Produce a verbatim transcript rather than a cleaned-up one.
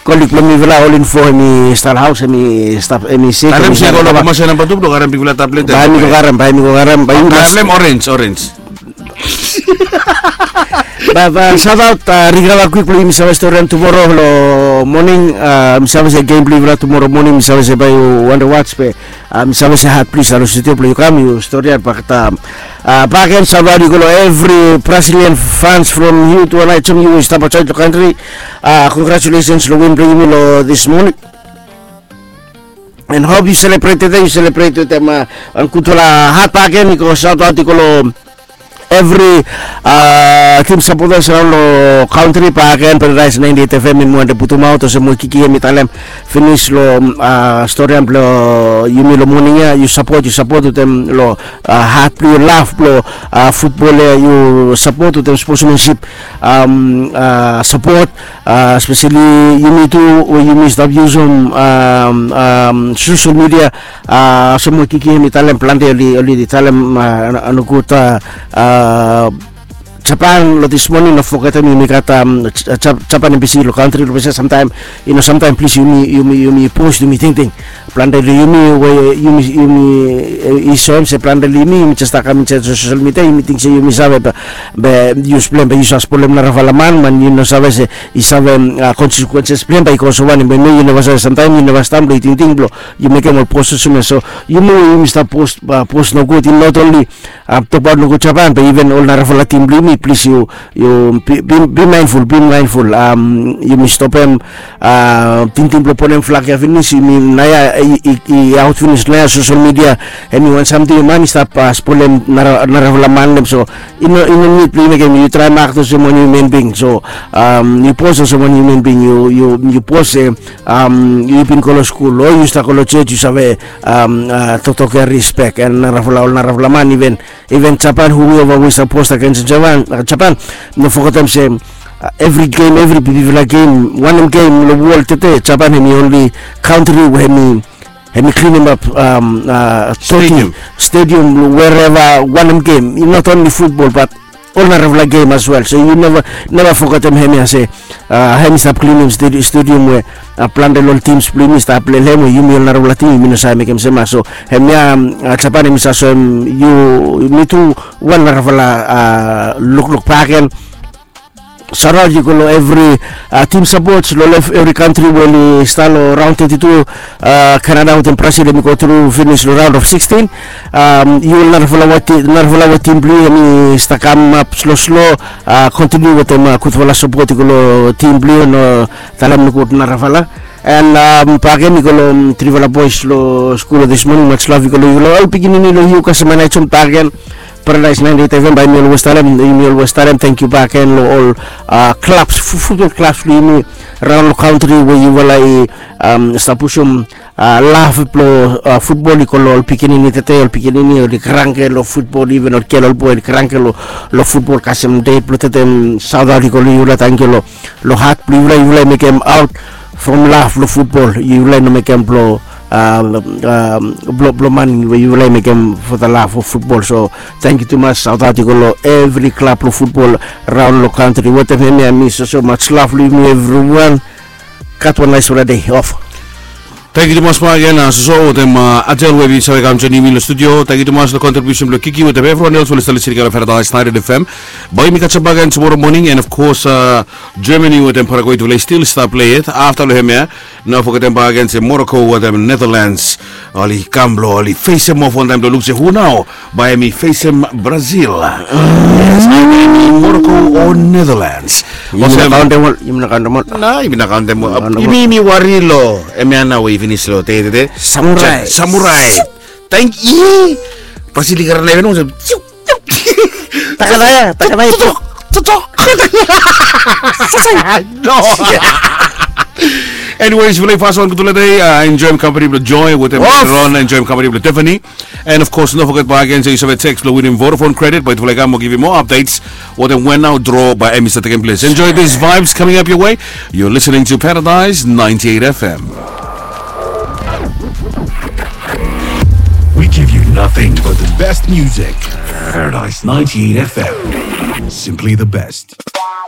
Kolik blong mifala ol info hemi stap haos, hemi stap, hemi sik. Talem se go long masa namba tu blong karem bigfala tablet. Bae mi go karem, bae mi go karem, bae mi go karem. Orange, orange. Bae, bae, shout out, rikava kwik blong yumi save storian tumoro long moning. Mi save se gem blong yufala tumoro moning, mi save se bae yu wande wats be mi save se hat plis alo studio blong yu kam yu storian bak. Baken, shout out i go long evri Brazilian fans from yu tu anae jong yu i stap aotsaed long kantri. Congratulations long win blong yumi long this morning. And hope yu celebrate tede, yu celebrate wetem wan gudfala hat baken. I go shout out i go long evri tim supporters raon long kantri baken. Paradise ninety eight F M i mo wande putumaot olsem we Kiki hemi talem finis long storian blong yumi long moning ya. Yu sapot, yu sapot wetem long hat blong yu, laf blong futbol ya, yu sapot wetem sportsmanship, sapot, espeseli yumi tu we yumi stap yusum social media. Olsem we Kiki hemi talem plante oli, oli talem nogud. Japan long this morning, no fogetem yumi gat Japan embassy long kantri long ples ya. Samtaem, yu no, samtaem plis yumi, yumi, yumi pos, yumi tingting. Plante long yumi we yumi, yumi i soem se plante long yumi, yumi jes stap kam insaed long social media, yumi ting se yumi save be, be yu splem be yu save spolem narafala man, man yu no save se i save consequences blong hem bae i go olsem wanem, be yu neva save, samtaem yu neva stap long yu tingting blong yu mekem ol pos olsem ya. So yumi we yumi stap pos, pos nogud, i not only tokbaot nogud Japan be iven ol narafala tim blong yumi, plis yu, yu be mindful, be mindful. Yumi stopem tingting blong ponem flag ya finis, yumi naoia i aot finis naoia, social media hemi wan samting man i stap spolem narafala man blong hem. So i no, i no nid blong yu mekem, yu traem act olsem wan human being. So yu pos olsem wan human being, yu, yu pos se yu bin go long skul o yu stap go long jos, yu save toktok ya, rispek. And narafala, ol narafala man, iven, iven Japan, whoever we stap pos agens Japan, Japan, no fogetem se evri gem, evri bigfala gem, wanem gem long wol tede, Japan hemi only kantri we hemi, hemi klinim ap stadium, wherever, wanem gem, not only futbol but ol narafala gem as well. So yu neva, neva fogetem hemia se hemi stap klinim stadium we plante long ol tims blong yumi stap plei long hem, we yumi ol narafala tim yumi no save mekem olsem ya. So hemia Japan hemi save soem yumi tu wan narafala lukluk baken. Shout out i go long evri tim sapot long evri kantri we oli stap long raon teti tu. Kanada wetem Brazil hemi go tru finis long raon of sikstin. Yu ol narafala we tim blong yu hemi stap kamap sloslo, kontiniu wetem gudfala sapot i go long tim blong yu, no talem nogud narafala. And baken i go long trifala bois long skul long this morning, much love i go long yu, long ol pikinini long yu kasem anae jom baken. Paradise ninety eight F M, bae mi olwes talem, yumi olwes talem tangkiu baken long ol klabs, futbol klabs blong yumi raon long kantri we yufala i stap pusum laf blong futbol i go long ol pikinini tede, ol pikinini oli kranke long futbol, iven ol gel, ol boe oli kranke long futbol kasem dei blong tede. Shout out i go long yufala, tangkiu long hat blong yufala, yufala i mekem aot from laf blong futbol, yufala i no mekem blong blong, blong man we yufala i mekem for the love of futbol. So tangkiu tumas, shout out i go long evri klab blong futbol raon long kantri. Wetem hemia mi soso, much love long yumi evriwan. Gat wan naesfala dei. Of. Tangkiu tumas baken, soso wetem Adel we bin save kam joenem yumi long studio. Tangkiu tumas long kontribiusen blong Kiki wetem evriwan els we oli stap lisin i go long Paradise ninety eight F M. Bae yumi kasem baken tumoro moning, and of course Germany wetem Paraguay, tufala i stil stap plei yet. Afta long hemia, no fogetem baken se Morocco wetem Netherlands oli kam blong oli fesem off wantaem blong luk se hu nao bae hemi fesem Brazil. Yes, Morocco o Netherlands. Yumi no kaontem ol, yumi no kaontem ol. Na yumi no kaontem ol. Yumi, yumi wari long hemia nao we i finis long dei tede. Samurai. Samurai. Tangkiu. Brazil i karen even olsem. Takana ya, takana ya. Tutuk, tutuk. No. Anyways, yufala i fas wan gudfala dei. Enjoem kampani blong Joy wetem Ron, enjoem kampani blong Tiffany. And of course, no foget baken se yu save text blong winim Vodafone credit, bae yufala i kam mo givim moa updates wetem wen nao draw bae hemi stap tekem ples. Enjoy these vibes coming up your way. You're listening to Paradise ninety eight F M. We give you nothing but the best music. Paradise ninety eight F M. Simply the best.